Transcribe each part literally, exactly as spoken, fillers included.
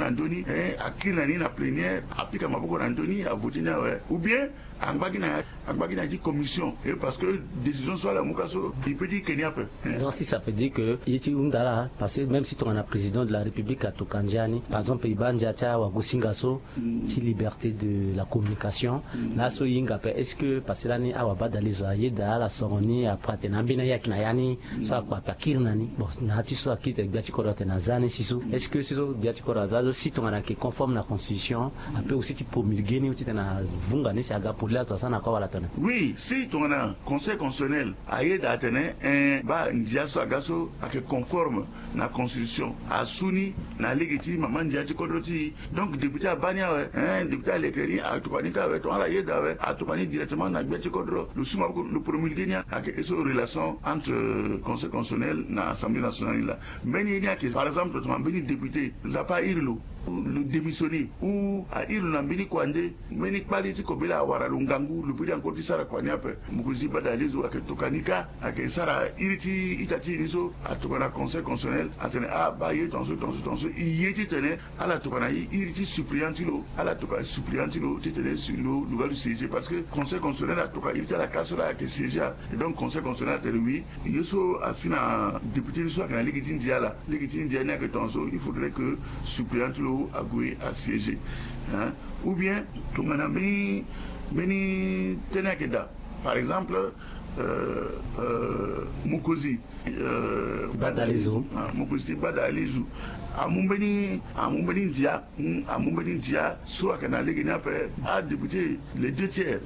na ndö ni, eh, akiri na ni na plénière, apika maboko na ndö ni, avote ni awe. Ou bien angba gi na, angba gi na ya ti commission. Eh, parce que décision so ala mu ka so, e peut ti ke ni ape. Donc si ça veut dire que ye ti hunda laa, parce que même si tongana président de la République atokua ndia ni, par exemple e baa ndia ti awagosinga so, ti liberté de la communication, laso e hinga ape, est-ce que parce que lani awabadalezo ayeda ala soro ni, après atene ambeni ayeke na ya ni, so akpa ape akiri na ni. Bon, na ya ti so akiri tene gbia ti kodro atene aza ni si so, est-ce que si so gbia ti kodro aza so, si tongana ayeke conforme na constitution, ape aussi ti promulguer ni, ou titene avunga ni si aga poli azo asara na kua wala tene? Oui, si tongana Conseil constitutionnel ayeda atene, eh, baa ndia so aga so ayeke conforme na constitution, asu ni na lege ti mama ndia ti kodro ti e. Donc député abaa ni awe, eh, député aleke ni, atokua ni ka awe, tongana ala yeda awe, atokua ni directement na gbia ti kodro, lo su maboko, lo promulguer ni. Ayeke ye so relation entre, euh, Conseil constitutionnel na Assemblée nationale ni laa. Mbeni ye ni ayeke, par exemple, tongana mbeni député, Nzapa airi lo, lo démissionner, ou airi lo na mbeni kua nde, mbeni kpali ti kobela awara lo ngangu, lo peut ti encore ti sara kua ni ape. Mokonzi ti baa Dahalizo ayeke tokua ni ka, ayeke sara iri ti ita ti e ni so atokua na Conseil constitutionnel, atene ah, baa ye tongaso tongaso tongaso, e ye titene ala tokua na e iri ti suppléant ti lo, ala tokua suppléant ti lo titene si lo, lo ga lo siéger, parce que Conseil constitutionnel atokua iri ti ala ka so laa ayeke siéger. Et donc Conseil constitutionnel atene oui, ye so asi na député ni so ayeke na lege ti ndia laa, lege ti ndia ni ayeke tongaso, il faudrait que suppléant ti lo ague asiéger, hein. Ou bien tongana mbeni, mbeni tënë ayeke daa, par exemple, euh, euh, mokonzi, euh, baa Dahalizo. Ah, mokonzi ti baa Dahalizo amu mbeni, amu mbeni ndia, hmm, amu mbeni ndia so ayeke na lege ni ape, adéputé les deux tiers,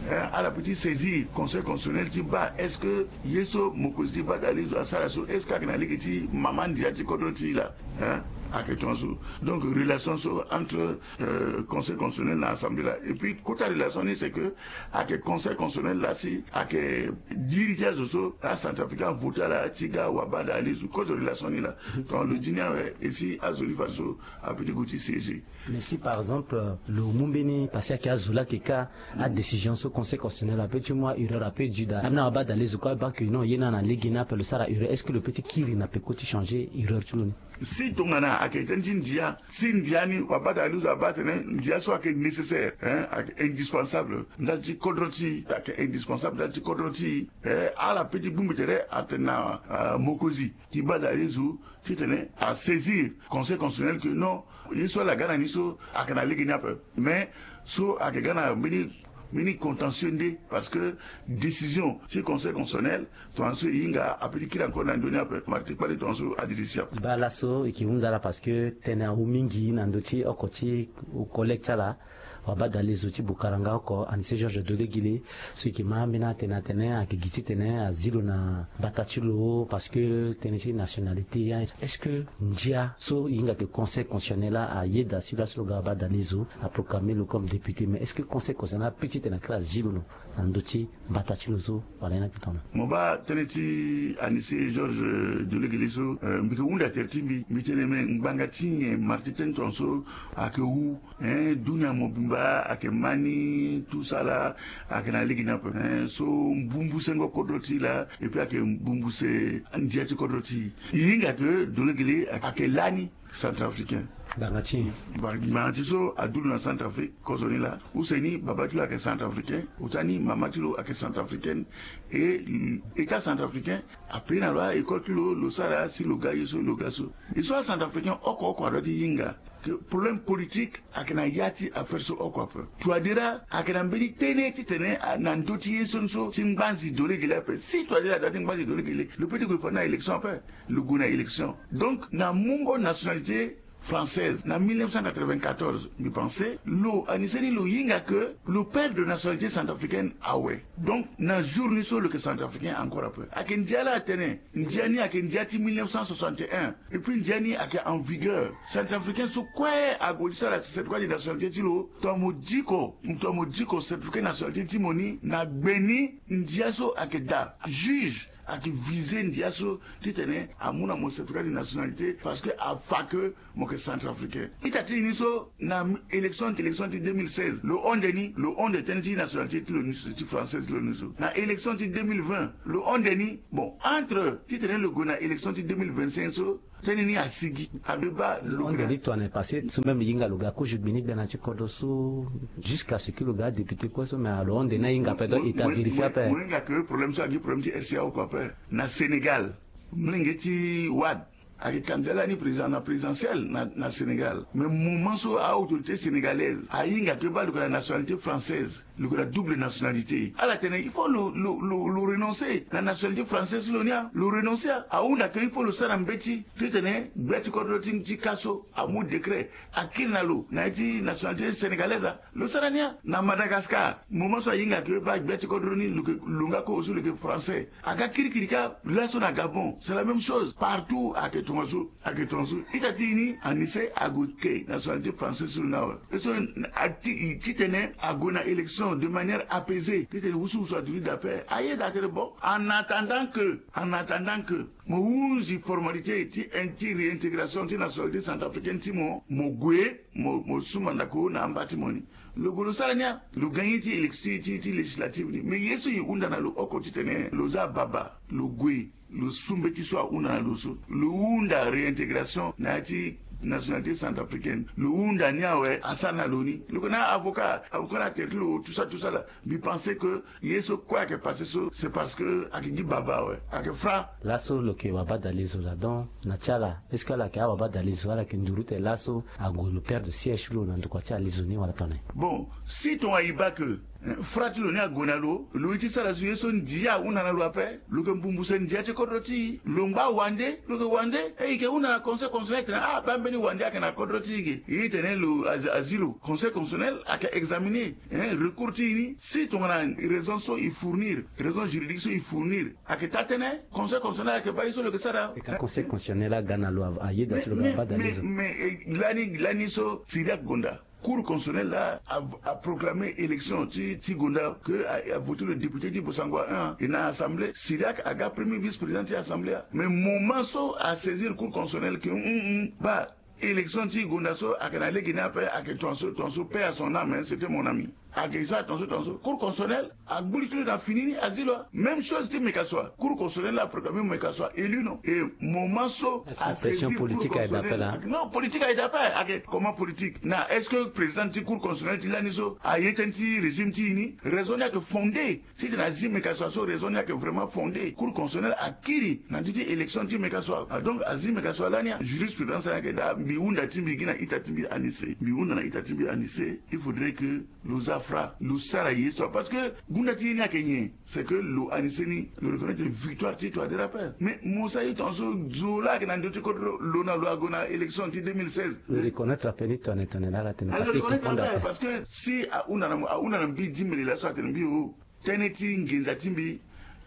hein, ala peut ti saisir Conseil constitutionnel ti baa est-ce que ye so mokonzi ti baa Dahalizo asara so, est-ce que ayeke na lege ti mama ndia ti kodro ti e laa, hein? Ayeke tongaso. Donc relation so entre, euh, Conseil constitutionnel na Assemblée laa. Et puis kota relation ni, c'est que ayeke Conseil constitutionnel laa si ayeke diri ti azo so aCentrafricain avote ala ti ga wabaa Dahalizo. Kozo relation ni laa. Donc lo di ni awe, e si azo ni fadeso apeut ti gue ti siéger. Mais si par exemple, euh, lo mu mbeni, parce que ayeke azo laa ayeke ka, adécision so Conseil constitutionnel apeut ti mu, aerreur apeut ti daa, ambeni awabaa Dahalizo kue abaa que non, ye ni na lege ni ape lo sara erreur, est-ce que lo peut ti kiri na peko ti changer erreur ti lo ni? Si tongana ayeke tënë ti ndia, si ndia ni wabaa Dahalizo abaa atene ndia so ayeke nécessaire, hein, ayeke indispensable ndali ti kodro ti e, ayeke indispensable ndali ti kodro ti e, eh, ala peut ti bongbi tere atene na, euh, mokonzi ti baa Dahalizo titene asaisir Conseil constitutionnel que non, ye so ala ga na ni so ayeke na lege ni ape. Mais so ayeke ga na mbeni, mbeni contentieux nde, parce que décision ti Conseil constitutionnel, tongaso e hinga apeut ti kiri encore na ndö ni ape. Marti kpali tongaso adiri si ape. Baa laso e yeke hunda laa parce que tënë awu mingi na ndö ti oko ti collègue ti ala, wabaa Dahalizo ti Bukaranga oko, Anicet Georges Dolegele, so e yeke ma ambeni atene atene ayeke gi titene azi lo na mbata ti lo parce que tënë ti nationalité. Est-ce que ndia so e hinga ke Conseil constitutionnel laa ayeda si laso lo ga wabaa Dahalizo, aproclamer lo comme député, mais est-ce que Conseil constitutionnel apeut titene akiri azi lo na ndö ti mbata ti lo so, wala ye ni ayeke tongana? Mo baa tënë ti Anicet Georges Dolegele so, euh, mbi yeke hunda tere ti mbi, mbi tene me ngbanga ti nyen marti tënë tongaso ayeke wu, hein, dunia mobimba ayeke ma ni, tout ça là, ayeke na lege ni ape, hein, so mbumbu sengo kodro ti e laa, et puis ayeke mbumbu se ndia ti kodro ti e. E hinga ke Dolegele ayeke lani Centrafricain. Ngbanga ti e. Ngbanga ti so adu lo na Centrafrique kozoni laa. Use ni baba ti lo ayeke Centrafricain, ota ni mama ti lo ayeke Centrafricaine. Et État centrafricain apaye na lo a-école ti lo, lo sara si lo ga ye so, lo ga so. E so aCentrafricain oko oko adoit ti hinga ke problème politique ayeke na ya ti affaire so oko ape. Touadéra ayeke na mbeni tënë titene a, na ndö ti ye so ni so ti ngbanzi Dolegele ape. Si Touadéra adoit ti ngbanzi Dolegele, lo peut ti gue fade na élection ape. Lo gue na élection. Donc na mungo nationalité française na mille neuf cent quatre-vingt-quatorze, mbi pense lo, Anicet ni, lo hinga ke lo perdre nationalité centrafricaine awe. Donc na jour ni so lo yeke Centrafricain encore ape. Ayeke ndia laa atene ndia ni ayeke ndia ti mille neuf cent soixante et un. Et puis ndia ni ayeke en vigueur. Centrafricain so kue ague ti sara certificat de nationalité ti lo, tongana mo diko, tongana mo diko certificat de nationalité ti mo ni na gbe ni, ndia so ayeke daa. Juge ayeke viser ndia so titene amu na mo certificat de nationalité parce que afa ke mo yeke Centrafricain. Ita ti e ni so na élection, élection ti deux mille seize, lo honde ni, lo honde tënë ti nationalité ti lo ni so, ti française ti lo ni so. Na élection ti deux mille vingt lo honde ni. Bon, entre titene lo gue na élection ti deux mille vingt-cinq so, Tënë ni asigi. Abe baa lo hon de. Li tongana e passé so même e hinga lo ga kozo gbeni gbena ti kodro so, jusqu'à ce que lo ga député kue so, mais lo hon de ni ahinga ape, donc e ta vérifier ape. Mo hinga ke problème so agi problème ti RCA oko ape. Na Sénégal, molenge ti Wade ayeke candidat lani président na présidentielle na, na Sénégal. Mais moment so a-autorité sénégalaise ahinga ke baa lo yeke na nationalité française, lo yeke na double nationalité, ala tene il faut lo, lo, lo, lo renoncer na nationalité française ti lo ni. Lo renoncer, ahunda ke il faut lo sara mbeti titene gbia ti kodro ti, ti ka so amu décret akiri na lo na ya ti nationalité sénégalaise. Lo sara ni. Na Madagascar, moment so ahinga ke baa gbia ti kodro ni lo yeke lo nga kozo so lo yeke français, aga kirikiri kâ. Laso na Gabon c'est la même chose. Partout ayeke tongaso, ayeke tongaso. Ita ti e ni, anise ague ke nationalité française ti lo ni awe. E so a ti, titene ague na élection de manière apaisée, titene wusuwusu adu ni daa ape. Ayeda atene bon, en attendant que, en attendant que mo hunzi formalité ti, ti réintégration ti nationalité centrafricaine ti mo, mo gue, mo, mo sumba ndako na amba ti mo ni. Lo gue lo sara ni. Lo gagné ti élec-, ti, ti, ti législative ni. Mais ye so e hunda na lo oko titene lo za baba, lo gue, lo su mbeti so ahunda na lo so, lo hunda réintégration na ya ti nationalité centrafricaine, lo hunda ni awe, asara na lo ni. Lo yeke na avocat, avocat ni atere ti lo tout ça, tout ça là. Mbi pense que ye so kue ayeke passé so, c'est parce que ayeke gi baba awe, ayeke fra. Laso lo yeke wabadalizo laa, donc na ti ala, est-ce que ala yeke awabadalizo, ala yeke nduru ti tene laso ague lo perdre siège ti lo na ndokua ti alizo ni wala tongana nyen? Bon, si tongana e baa ke, eh, fra ti lo ni ague na lo, lo ye ti sara zo ye so ndia ahunda na lo ape. Lo yeke mbumbuse ndia ti kodro ti e. Lo ngba wande, lo yeke wande, e, e yeke hunda na Conseil constitutionnel tene, ah, baa mbeni wande ayeke na kodro ti e ge. E tene lo azi, azi lo, Conseil constitutionnel ayeke examiner, eh, recours ti e ni. Si tongana raison so e fournir, raison juridique so e fournir ayeke taa tënë, Conseil constitutionnel ayeke baa ye so lo yeke sara. E ka Conseil constitutionnel aga na lo, a, ayeda si lo ga baa dalizo. Mais, mais, eh, lani, lani so Cyriaque Gonda, Cour constitutionnelle la a, a proclamé élection ti, ti Gonda, que a, a voté le député ti Bossangoa un, et na assemblée, Cyriaque aga premier vice-président ti assemblée. Mais moment so a saisir Cour constitutionnelle que, hum, hum, baa élection ti Gonda so ayeke na lege ni ape, ayeke tongaso, tongaso, paix à son âme, hein, c'était mon ami. Ayeke so tongaso, tongaso. Cour constitutionnelle agbu li ti lo na fini ni, azi lo. Même chose ti Mecasua. Cour constitutionnelle la proclamé Mecasua élu, non? Et moment so a saisir Cour constitutionnelle. Pression politique ayeke daa ape la. Non, politique ayeke daa ape. Ayeke comment politique? Na est-ce que président ti Cour constitutionnelle ti lani so aye tënë ti régime ti e ni? Raison ni ayeke fondée. Si tene azi Mecasua so, raison ni ayeke vraiment fondée. Cour constitutionnelle akiri na ndö ti élection ti Mecasua. Ah, donc azi Mecasua lani, jurisprudence ayeke daa. Mbi hunda ti mbi gi na ita ti mbi anise. Mbi hunda na ita ti mbi anise. Il faudrait que lo za fra, lo sara ye so. Parce que gunda ti ye ni ayeke nyen? C'est que lo anise ni, lo reconnaître victoire ti Touadéra ape. Mais mo sara ye tongaso, zo laa ayeke na ndö ti kodro, lo na lo ague na élection ti deux mille seize. Lo reconnaître ape ni tongana tongana laa, ala tene. Ah, lo reconnaître ape, parce que si ahunda na mo, ahunda na mbi dix mille laso, atene mbi o, tënë ti nginza ti mbi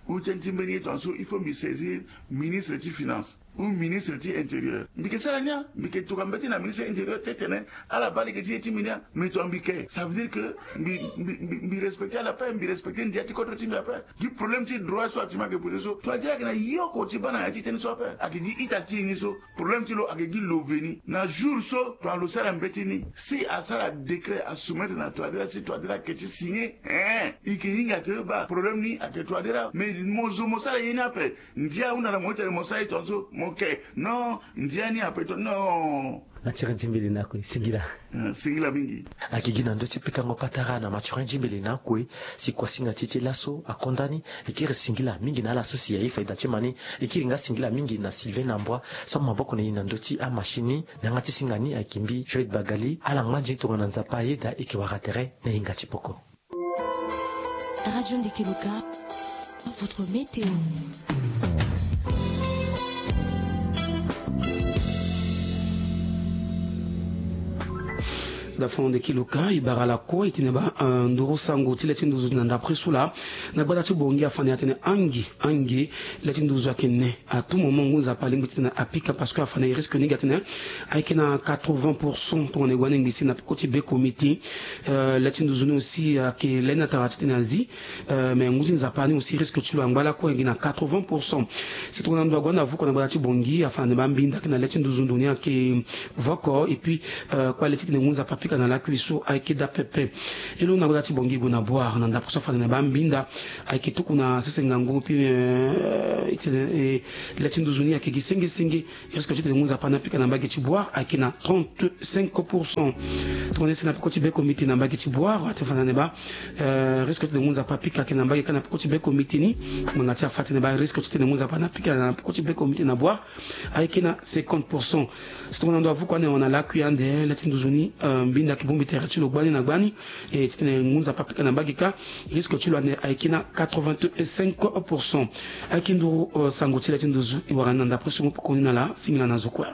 ou tënë ti mbeni ye tongaso, il faut mbi saisir ministre ti finance ou ministre ti intérieur. Mbi yeke sara ni a, mbi yeke tokua mbeti na ministre intérieur ti tene ala baa lege ti ye ti mbi ni a. Mais tongana mbi yeke, ça veut dire que mbi, mbi, mbi, mbi respecter ala ape, mbi respecter ndia ti kodro ti mbi ape. Gi problème ti droit so actuellement ayeke posé so, Touadéra ayeke na ye oko ti baa na ya ti tënë so ape. Ayeke gi ita ti e ni so. Problème ti lo ayeke gi love ni. Na jour so tongana lo sara mbeti ni, si asara décret asoumettre na Touadéra, si Touadéra ayeke ti signer, hein, e yeke hinga ke baa problème ni ayeke Touadéra. Mais mo zo mo sara ye ni ape. Ndia ahunda na mo ti tene mo sara ye tongaso, mo ke. Non, ndia ni ape to, non. Na tere ti mbili ni akue, singila. Eh, singila mingi. Ayeke gi na ndö ti pikango patara na Mathurin Djimbili na akue, si kua singa ti e ti laso akonda ni. E kiri singila mingi na ala so si aye faida ti ma ni. E kiri nga singila mingi na Sylvain Nambwa so amaboko na e na ndö ti amachine ni. Na yanga ti singa ni ayeke mbi Joël Bagali. Ala ngba nzoni tongana Nzapa ayeda e yeke wara tere na hinga ti poko. Radio Ndeke Loka, votre météo. Dafon Ndeke Loka, e bara lakue e tene baa, eh, nduru sango ti le ti nduzu na ndapre so laa. Na gbata ti Bangui afa na e atene angi, angi, le ti nduzu ayeke ne. À tout moment ngu Nzapa alingbi ti tene apika parce que afa na e risque ni ga tene ayeke na quatre-vingts pour cent tongana e wani ngbi si na peko ti be komiti. Euh, le ti nduzu ni aussi, euh, ayeke le ni atara titene azi. Euh, mais ngu ti Nzapa ni aussi risque ti lo angba lakue gi na quatre-vingts pour cent. Si tongana ndo ague ande avuko na gbata ti Bangui afa na ni baa mbinda ayeke na le ti nduzu ndo ni ayeke voko. Et puis, euh, kue le titene ngu Nzapa pika na lakui so ayeke daa pepe. E londo na goda ti Bongi gue na Bouar na ndapre so afanda na baa mbinda ayeke tuku na sese ngangu mpi, eh, iti, eh, le ti nduzu ni ayeke gi senge senge. Risque ti tene ngu nzapa ni apika na mbage ti Bouar ayeke na trente-cinq pour cent. Tongana e si na peko ti beko miti na mbage ti Bouar ate fanda na baa, eh, risque ti tene ngu nzapa apika ayeke na mbage kâ na peko ti beko miti ni. Ngbanga ti afa atene baa risque ti tene ngu nzapa ni apika na peko ti beko miti na Bouar ayeke na cinquante pour cent. Si tongana ndo avuku ande na lakui ande le ti nduzu ni, eh, mbinda ayeke bongbi tere ti lo gbani na gbani. E ti tene ngu nzapa apika na mbage kâ, risque ti lo ande ayeke na quatre-vingt-cinq pour cent. Ayeke nduru, eh, sango ti le ti nduzu e wara ni na ndapre so ngu poko ni na ala. Singila na zo kue.